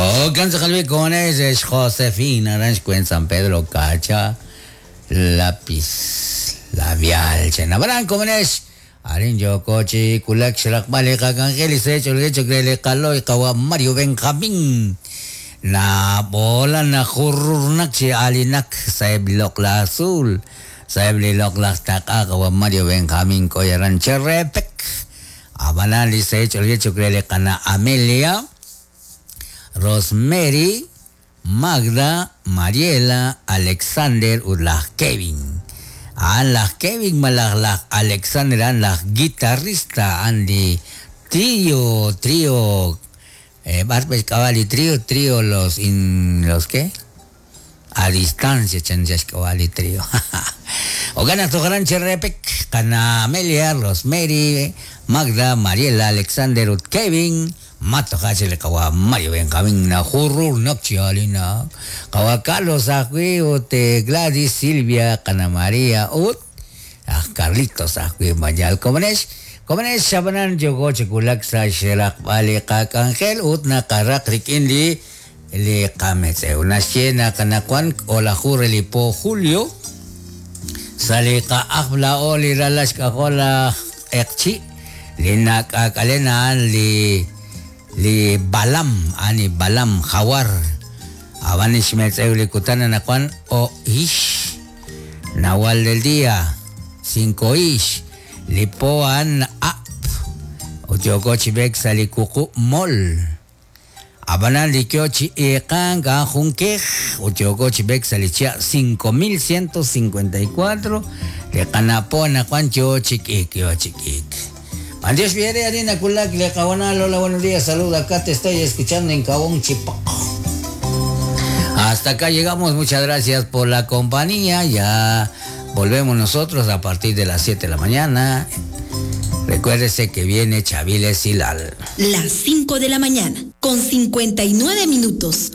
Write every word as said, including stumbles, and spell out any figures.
Oh, cansa con ese es Josefina Rancho en San Pedro Cacha lápiz labial chenabrán como es Arin yo kochi kulak xraqbali qakangel secho lecho krele qaloy qawa Mario Benjamín na bola na jururnak chi alinak saeb loqla azul saeb li loqla taqa qawa Mario Benjamín koyaran cherepek abanali secho lecho krele qana Amelia Rosemary Magda Mariela Alexander Urlaj Kevin an laj Kevin malaj laj Alexander an laj guitarrista Andy trío trío eh, Barbes Cavalli trío trío los in los qué a distancia chanchas Cavalli trío o gana tu gran cherepek kana Amelia Rosemary Magda Mariela Alexander ut Kevin Mato hachile kawa Mario Benjamín na jurur nokchialina kawa Carlos ajwi ut Gladys Silvia kana María ut ah Carlitos ajwi mayal komanesh komanesh shabanan yogo chikulak sa xeraq bali qakangel ut na qaraq rikin li li qametz una kana kwan ola jure li po julio sali qa ajbla oli ralash kajola eqchi li nak'ak'alena li li balam ani balam jawar abanish metzeuli kutana nakuan o ish nawal del día cinco ish li poan ap oyokochi bek salikuku mol abanan likiochi ekan ga junkej oyokochi bek salichia cinco mil ciento cincuenta y cuatro le kanapo nakuan yochik ik yochik ik. Andrés Viere, Arina Kulak, Le Cabanal, hola, buenos días, saluda, acá te estoy escuchando en Cabón Chipoc. Hasta acá llegamos, muchas gracias por la compañía, ya volvemos nosotros a partir de las siete de la mañana. Recuérdese que viene Chaviles Hilal. Las cinco de la mañana, con cincuenta y nueve minutos.